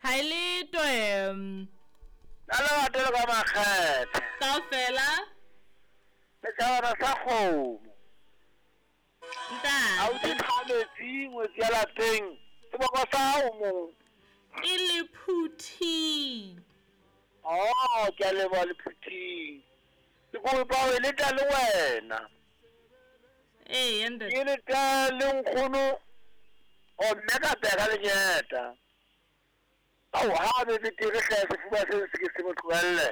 Ha e le toe. Ka lerato le ka makgethe. Kaofela. Setjhabana sa kgomo. Ntate. Ausi Thametsi ngwetsi ya lapeng. Seboko sa hao mo. Ke Lephuthing. Oh, ke a leboha Lephuthing. Ke kopa ho e leta le wena. Ee, ntate. Ke leta le nkgono o mme ka peka lenyeta. Ao, ha be betere hle sefuba se se ke se mo tlohelle.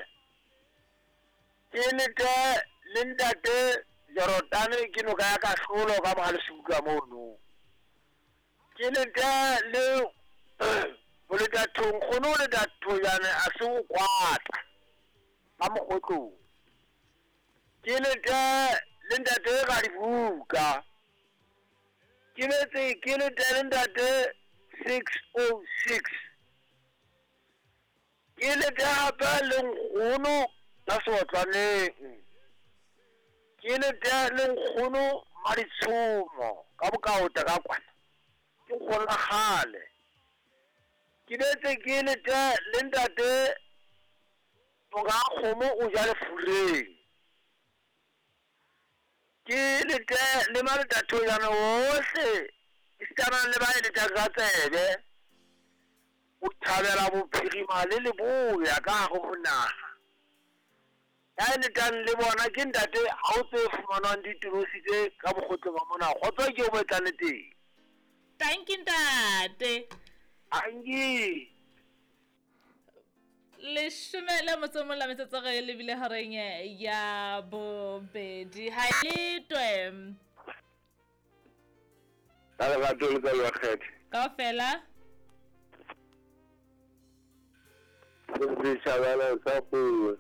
Ke lete le ntate Jorotane ke noka ya kahlolo ka Mohalesuka mono. Ke lete le Boletathong, nkgono o leta thojane a se o kwata ka mokgotlong. Ke lete le ntate Radibuka. Ke letse ke lete le ntate 606. Ke lete hape le nkgono ka seotlwaneng. Ke lete le nkgono Maditshomo ka bokaota ka kwana. Ke nkgono la kgale. Ke letse ke lete le ntate monga kgomo o ja lefureng. Ke lete le maletathojana ohle esitana le ba e letang ka tsebe. O thabela bophirima le leboya ka hare ho naha. Ya e letang le bona ke ntate ha o tse fumanwang ditorosi tse ka mokgotlong wa mona. Kgotso ke o mo etsang le teng. Thank you ntate. Angi. Leshome le motso o mong la metsotso re lebile horeng ya bobedi. Ha le twe. Ka lerato le ka lekgethe. Kaofela. Setjhabana sa kgomo.